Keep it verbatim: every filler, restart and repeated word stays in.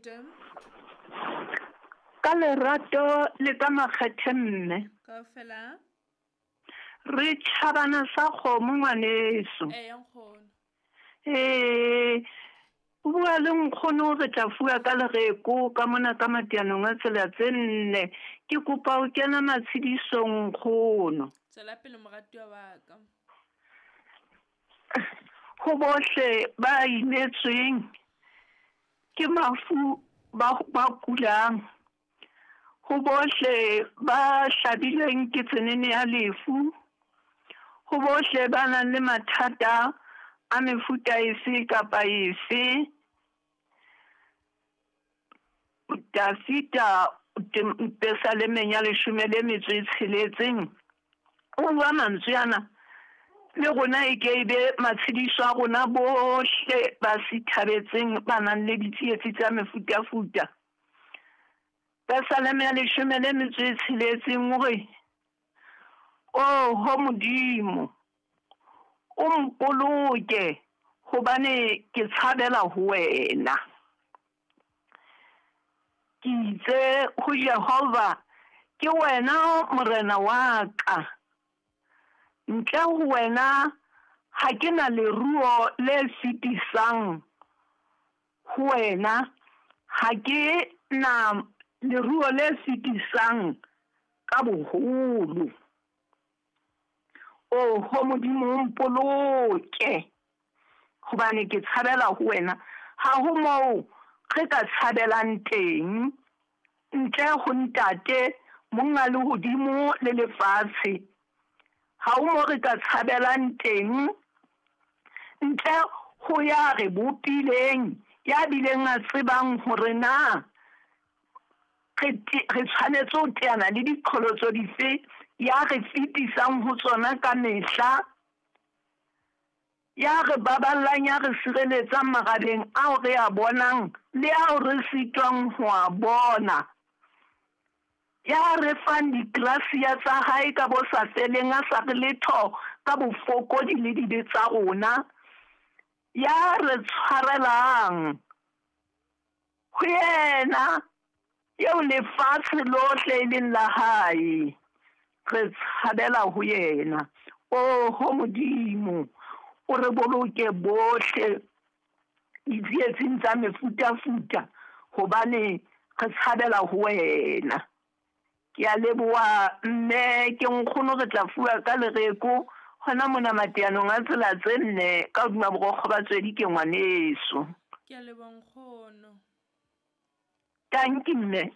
Fete. Ka lerato le ka makgethe mme. Kaofela. Re tjhabana sa kgomo ngwaneso. Eya nkgono. Ee, o bua le nkgono re tla fuwa ka lereko ka mona ka mateanong a tsela tse nne. Ke kopa ho kena matshedisong nkgono. Tswela pele moratuwa wa ka. Ho bohle ba imetsweng ke mafu ba ba kulang. Ho bohle ba hlabilweng ke tsenene ya lefu. Ho bohle ba nang le mathata a mefuta efe kapa efe. Dafita Pesalemeng ya leshome le metso e tsheletseng o bua mantswe ana le rona e ke e be matshediso a rona bohle ba sithabetseng ba nang le ditsietsi tsa mefutafuta. Pesaleme ya leshome le metso e tsheletseng o re, oho Modimo, o mpoloke hobane ke tshabela ho wena. Ke itse ho Jehova, ke wena morena wa ka. Ntle ho wena ha ke na leruo le fetisang ho wena, ha ke na leruo le fetisang ka boholo. Oho Modimo, mpoloke hobane ke tshabela ho wena. Ha ho moo re ka tshabelang teng ntle ho ntate monga lehodimo le lefatshe. Ha ho moo re ka tshabelang teng ntle ho ya re bopileng, ya bileng a tsebang hore na re re tshwanetse ho teana le diqholotso dife, ya re fetisang ho tsona ka mehla, ya re baballang, ya re sireletsang marabeng ao re a bonang le ao re sitwang ho a bona, ya re fang digrasia tsa hae ka bo sa feleng, a sa re letho ka bofokodi le dibe tsa rona, ya re tshwarelang. Ho yena eo lefatshe lohle e leng la hae, re tshabela ho yena. Oho Modimo, o re boloke bohle ditsietsing tsa mefutafuta hobane re tshabela ho wena. Ke a leboha mme, ke nkgono re tla fuwa ka lereko hona mona mateanong a tsela tse nne ka hodima borokgo ba tswedi ke ngwaneso. Ke a leboha nkgono. Tanki mme.